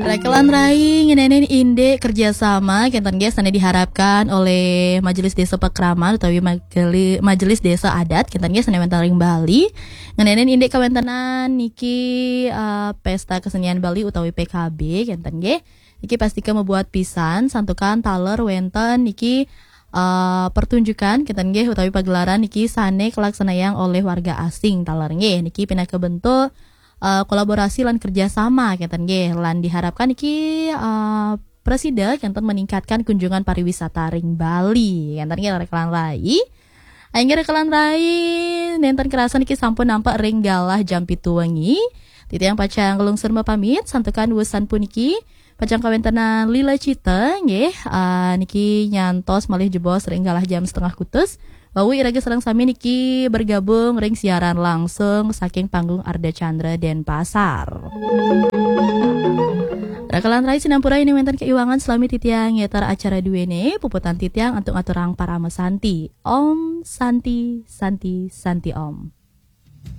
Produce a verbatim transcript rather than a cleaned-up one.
Rekelan rai ngenenen indik kerjasama kenten nggih sane diharapkan oleh Majelis Desa Pakraman utawi Mageli- Majelis Desa Adat kenten nggih sane wenten ring Bali. Ngenenen indik kawentenan niki eh, Pesta Kesenian Bali utawi P K B kenten nggih. Niki pastika mabuat pisan santukan taler wenten niki eh, pertunjukan kenten nggih utawi pagelaran niki sane kalaksanayang oleh warga asing taler nggih. Niki pinaka bentuk eh, kolaborasi lan kerjasama kenten nggih lan diharapkan niki eh, presida kenten meningkatkan kunjungan pariwisata ring Bali kenten nggih rekelan rai. Inggih rekelan rai nenten kerasa niki sampun nampak ring galah jam pitu wengi. Titiang pacang nglungsur mapamit santukan wusan puniki pacang kawentenan lila cita nggih eh, niki nyantos malih jebos ring galah jam setengah kutus. Wau iraga sareng sami niki bergabung ring siaran langsung saking panggung Arda Chandra Denpasar. Rekelan rai sinampura ini wenten keiwangan selami titiang ngetar acara duene puputan titiang antuk ngaturang parama santi. Om Santi Santi Santi Om.